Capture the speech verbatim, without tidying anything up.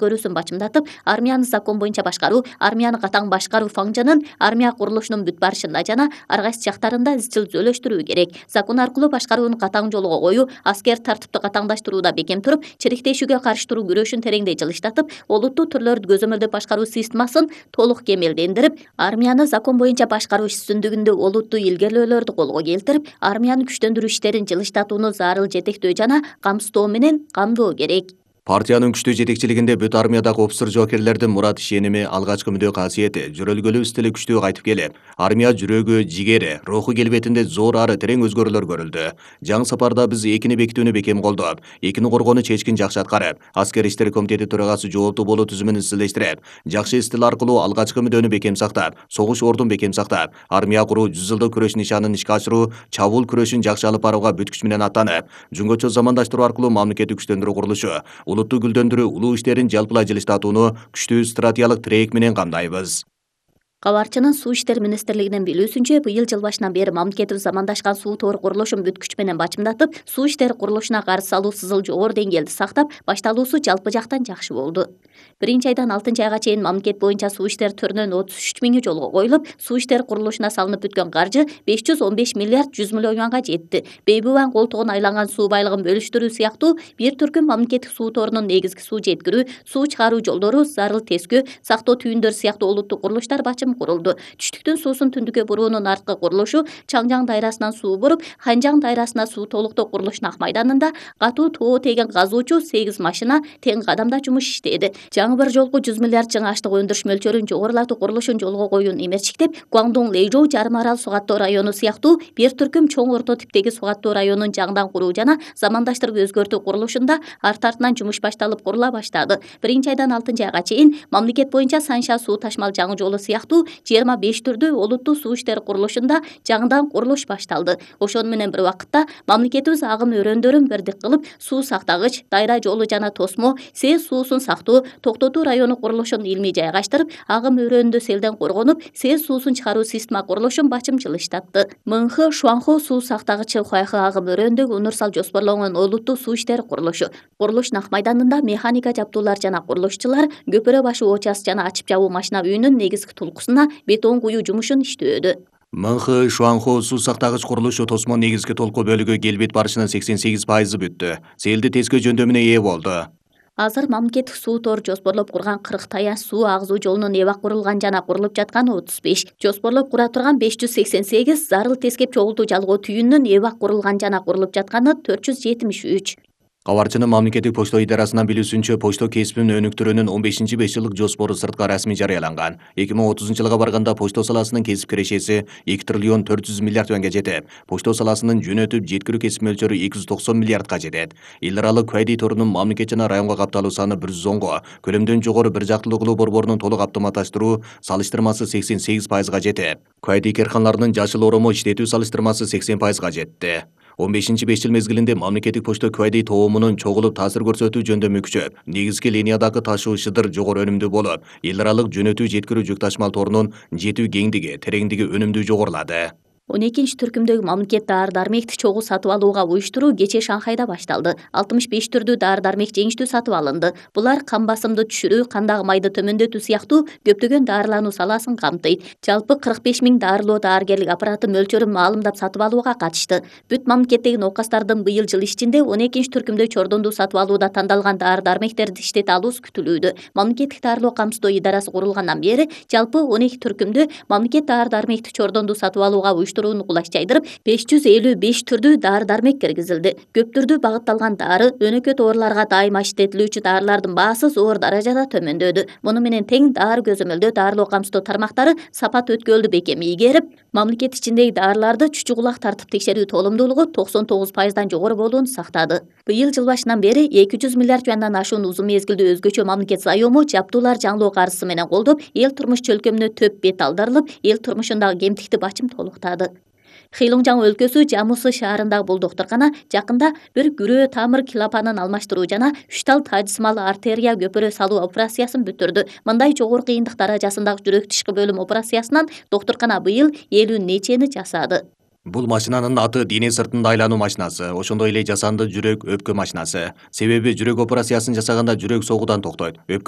көрүүсүн бачымдатып, армияны закон боюнча башкаруу, армияны катаң башкаруу фаңжынын армия курулушунун бүт барышында жана ар кайсы жактарында изчил жөнлөштүрүү керек. Закон аркылуу башкарууну катаң жолго коюу, аскер тартипти катаңдаштырууда бекем туруп, чириктешүүгө каршы туруу күрөшүн тереңдей жылыштатып, олуттуу түрлөрдү көзөмөлдөп башкаруу системасын толук кемелдендирип, армияны закон боюнча башкаруу үстүндүгүндө олуттуу илгерүүлөрдү колго келтирип, армияны күчтөндүрүү иштерин жылыштатууну зарыл жетектөө жана камсыздоо менен камдоо керек. Партиянын күчтүү жетекчилигинде бүт армиядагы офицер жоокерлердин мурат ишеними, алгачкы мүдөө касиети жөрөлгөлүү стили күчтүү кайтып келип, армия жүрөгү, жигери, руху келбетинде зор ары терең өзгөрүүлөр көрүлдү. Жаңы сапарда биз экини бекитүүнү бекем колдоп, экини коргоону чечкин жакшы аткарып, аскер иштери комитети төрагасы жооптуу болуу түзүмүн изчилештирип, жакшы стил аркылуу алгачкы мүдөнү бекем сактап, согуш ордун бекем сактап, армия куруу, жүз жылдык күрөш нишанын ишке ашыруу, чабуул күрөшүн жакшы алып барууга бүт күч менен аттанып, жөнгөчө замандаштыруу аркылуу мамлекеттик күчтөндүрүү курулушу, улуттуу гүлдөндүрүү, улуу иштерин жалпылай жылыштатууну күчтүү стратегиялык тирек менен камдайбыз. Кабарчынын суу иштери министрлигинин билүүсүнчө, быйыл жыл башынан бери мамлекетибиз замандашкан суу тоор курулушун бүт күч менен бачымдатып, суу иштери курулушуна каршы салуу сызыл жогору деңгээлде сактап, башталуусу жалпы жактан жакшы болду. Биринчи айдан алтынчы айга чейин мамлекет боюнча суу иштери төрүнөн отуз үч миңи жолго коюлуп, суу иштери курулушуна салынып бүткөн каржы беш жүз он беш миллиард жүз миллионга жетти. Бейбубан колтугуна айланган суу байлыгын бөлүштүрүү сыяктуу бир түркүм мамлекеттик суу тоорунун негизги суу жеткирүү, суу чыгаруу жолдору, зарыл тескөө, сактоо түйүндөрү сыяктуу олуттуу курулуштар бачым курулду. Түштүктүн суусун түндүккө буруунун арткы курулушу, Чаңжаң дайрасынан суу буруп, Ханжаң дайрасына суу толуктоо курулушунун Ак майданында катуу тоо теген казуучу сегиз машина тең кадамда жумуш иштеди. Жаңы бир жолку жүз миллиард чың аштык өндүрүш мөлчөрүн жогорулатуу курулушун жолго коюун эмерчиктеп, Гуандун Лэйжоу жарым арал суу каттоо району сыяктуу бир түркүм чоң орто типтеги суу каттоо районун жаңыдан куруу жана замандаштырып өзгөртүү курулушунда арт артынан жумуш башталып курула баштады. Биринчи айдан алтынчы айга чейин мамлекет боюнча Санша суу ташмал жаңы жолу сыяктуу жыйырма беш түрдүү олуттуу суу иштери курулушунда жаңыдан курулуш башталды. Ошону менен бир убакытта мамлекетибиз агым өрөөндөрүн бирдик кылып, суу сактагыч, дайра жолу жана тосмо, сез суусун сактоо, токтотуу району курулушун илмий жайгаштырып, агым өрөөнүндө селден коргонуп, сез суусун чыгаруу система курулушун бачым жылыштатты. Мыңхы Шуанхо суу сактагычы Хуайхы агым өрөөндөгү универсал жоспорлонгон олуттуу суу иштери курулушу. Курулуштун Ак майданында механика жабдуулар жана курулушчулар көпүрө башы очас жана ачып жабуу машина үйүнүн негизги тулкусуна бетон куюу жумушун иштөөдө. Мыңхы Шуанхо суу сактагыч курулушу тосмо негизги толку бөлүгү келбет барышынын сексен сегиз пайызы бүттү. Селди тескөө жөндөмүнө ээ болду. Азыр мамлекеттик суу тоор жоспорлоп курган кырк таянч суу агызуу жолунун эбак курулган жана курулуп жатканы отуз беш, жоспорлоп кура турган беш жүз сексен сегиз, зарыл тескеп чогултуу жалгоо түйүнүнүн эбак курулган жана курулуп жатканы төрт жүз жетимиш үч. Кабарчынын мамлекеттик почто идарасынан билүүсүнчө, почто кесибинин өнүктүрүүнүн он бешинчи беш жылдык жоспору сыртка расмий жарыяланган. эки миң отузунчу жылга барганда почто саласынын кесип кирешеси эки триллион төрт жүз миллиард юанга жетет. Почто саласынын жөнөтүп жеткирүү кесип мөлчөрү эки жүз токсон миллиардга жетет. Эл аралык Куайди торунун мамлекет жана районго капталуу саны бир жүз онго, көлөмдөн жогору бир жактылыгылуу борборунун толук автоматташтыруу салыштырмасы сексен сегиз пайызга жетет. Куайди керканаларынын жашыл оромо иштетүү салыштырмасы сексен пайызга жетти. он бешинчи беш жыл мезгилинде мамлекеттик почто Куайди тоомунун чогулуп таасир көрсөтүү жөндөмү күчөп, негизги линиядагы ташуу шыдыр жогору өнүмдүү болуп, эл аралык жөнөтүү жеткирүү жүк ташмал торунун жетүү кеңдиги, тереңдиги өнүмдүү жогорулады. он экинчи түркүмдөгү мамлекет дары-дармекти чогуу сатып алууга уюштуруу кечээ Шанхайда башталды. алтымыш беш түрдүү дары-дармек жеңиштүү сатып алынды. Булар кан басымды түшүрүү, кандагы майды төмөндөтүү сыяктуу көптөгөн дарылануу саласын камтыйт. Жалпы кырк беш миң дарылоо даарыгерлик аппараты мөлчөрүн маалымдап сатып алууга катышты. Бүт мамлекеттеги ноокастардын быйыл жыл ичинде он экинчи түркүмдө чордондуу сатып алууда тандалган дары-дармектерди иштете алуусу күтүлүүдө. Мамлекеттик дарылоо камсыздоо идарасы курулгандан бери жалпы он эки түркүмдө мамлекет дары-дармекти чордондуу сатып алууга кулач жайдырып, беш жүз элүү беш түрдүү дары-дармек киргизилди. Көп түрдүү багытталган дары, өнөкөт ооруларга дайыма иштетилүүчү дарылардын баасы зор даражада төмөндөдү. Муну менен тең дары көзөмөлдөө, дарылоо камсыздоо тармактары сапат өткөлдү бекем ийгерип, мамлекет ичиндеги дарыларды чүчү кулак тартып текшерүү толумдуулугу токсон тогуз пайыздан жогору болууну сактады. Быйыл жыл башынан бери эки жүз миллиард юандан ашуун узун мезгилдүү өзгөчө мамлекет заёму жабдуулар жаңылоо каржысы менен колдоп, эл турмуш чөлкөмүнө төп бет алдырылып, эл турмушундагы кемтикти бачым толуктады. Хилуңжаң өлкөсү Жамусы шаарындагы бул доктуркана жакында бир күрөө тамыр килапанын алмаштыруу жана үч тал тажсымал артерия көпүрө салуу операциясын бүтүрдү. Мындай жогору кыйындык даражасындагы жүрөк тышкы бөлүм операциясынан доктуркана быйыл элүү нечени жасады. Бул машинанын аты дене сыртында айлануу машинасы, ошондой эле жасанды жүрөк өпкө машинасы. Себеби жүрөк операциясын жасаганда жүрөк согуудан токтойт. Өпкө